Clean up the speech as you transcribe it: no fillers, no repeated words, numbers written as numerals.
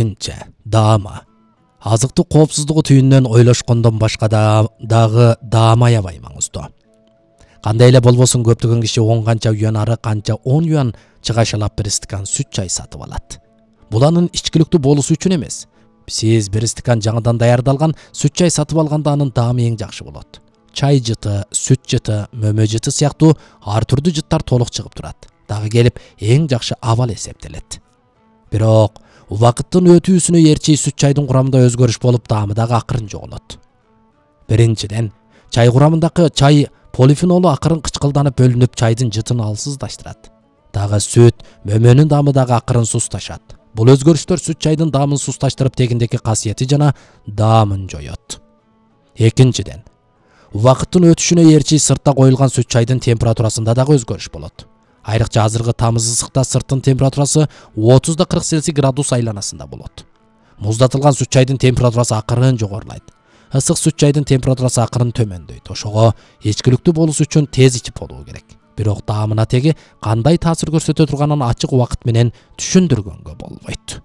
Экинчи, даама. Азыктык коопсуздугу түйүнүнөн ойлошкондон башка дагы даама аябай маңыздуу. Кандай эле болбосун көптөгөн киши 10 канча юан ары канча 10 юан чыгашалап бир стакан сүт чай сатып алат. Бул анын ичкиликтүү болуусу үчүн эмес. Сиз бир стакан жаңыдан даярдалган сүт чай сатып алганда анын даамы эң жакшы болот. Чай жыты, сүт жыты, мөмө жыты сыяктуу ар түрдүү жыттар толук чыгып турат. Дагы келип эң жакшы абал эсептелет. Бирок убакыттын өтүүсүнө ээрчи сүт чайдын курамында өзгөрүш болуп, даамы дагы акырын жоголот. Биринчиден, чай курамындагы чай полифенолу акырын кычкылданып бөлүнүп, чайдын жытын алсыздашат. Дагы сүт, мөмөнүн даамы дагы акырын сусташат. Бул өзгөрүштөр сүт чайдын даамын сусташтырып, тегиндеги касиети жана даамын жоёт. Экинчиден, убакыттын өтүшүнө ээрчи сыртта коюлган сүт чайдын температурасында дагы өзгөрүш болот. Айрыкча азыркы тамыз ысыкта сырттын температурасы 30-40 Цельсий градус айланасында болот. Муздатылган сүт чайдын температурасы акырын жогорулайт. Ысык сүт чайдын температурасы акырын төмөндөйт. Ошого ичкиликтүү болуусу үчүн тез ичип болуу керек. Бирок даамына теги кандай таасир көрсөтө турганын ачык убакыт менен түшүндүргөнгө болбойт.